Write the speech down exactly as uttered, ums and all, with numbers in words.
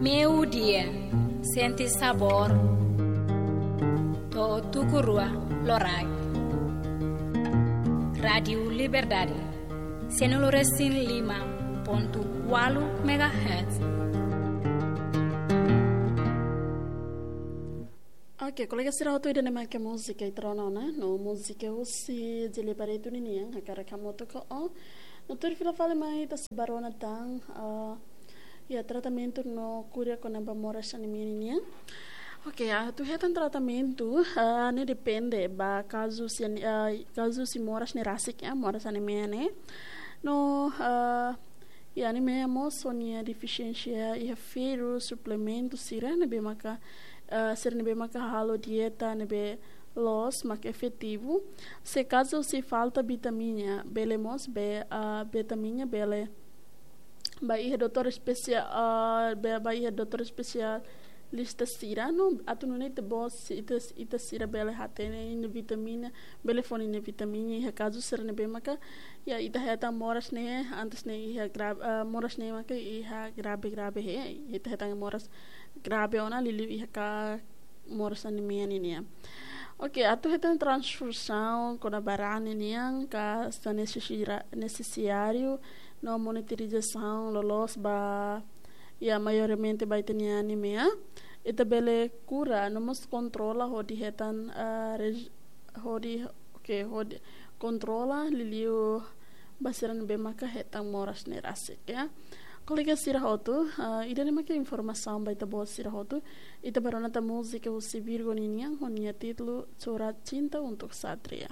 Meio-dia, sente sabor. To'o tuku rua loraik. Rádio Liberdade, cento e cinco e cinco ponto oito megahertz. Ok, kolega sira hotu, ida-ne'e mak múzika ita rona ona, no múzika husi Jili Barreto ninian, hakarak hamutuk ho. No tuir fila fali mai ita sei bá rona tan, ah, iha tratamentu no kura kona-ba moras anemia ninian. Ok, ah, atu hetan tratamentu, ah, ne'e depende ba kazu husi, ah, kazu husi moras ne'e rasik, ya, moras anemia ne'e. No, ah, iha anemia mós ho nia defisiénsia iha ferru, suplementu sira ne'ebé maka, ah, sira ne'ebé maka halo dieta ne'ebé loos mak efetivu. Se kazu se falta vitamina, bele mós be, ah, vitamina bele bá iha doutór espesia-, ah, be-, bá iha doutór espesialista sira no atu nune'e ita-boot si-, ita, ita sira bele hatene nia vitamina, bele fó nia vitamina iha kazu sira ne'ebé maka, ya, ita hetan moras ne'e, antes ne'e iha gra-, ah, moras ne'e maka iha grave, grave he, ita hetan moras grave ona liuliu iha ka moras anemia ninian. Ok, atu hetan transfuzaun kona-ba raan ninian, ka sa nesesira-, nesesiáriu, no monitorizasaun loloos ba, ya, maiormente ba ita-nia anemia. Ita bele kura, no mós kontrola hodi hetan, ah, reg-, hodi, ok, hodi kontrola liuliu ba sira ne'ebé maka hetan moras ne'e rasik, ya. Kolega sira hotu, ah, ida-ne'e maka informasaun ba ita-boot sira hotu. Ita bá rona tan múzika husi Virgo ninian, ho nia títulu Surat Cinta Untuk Satria.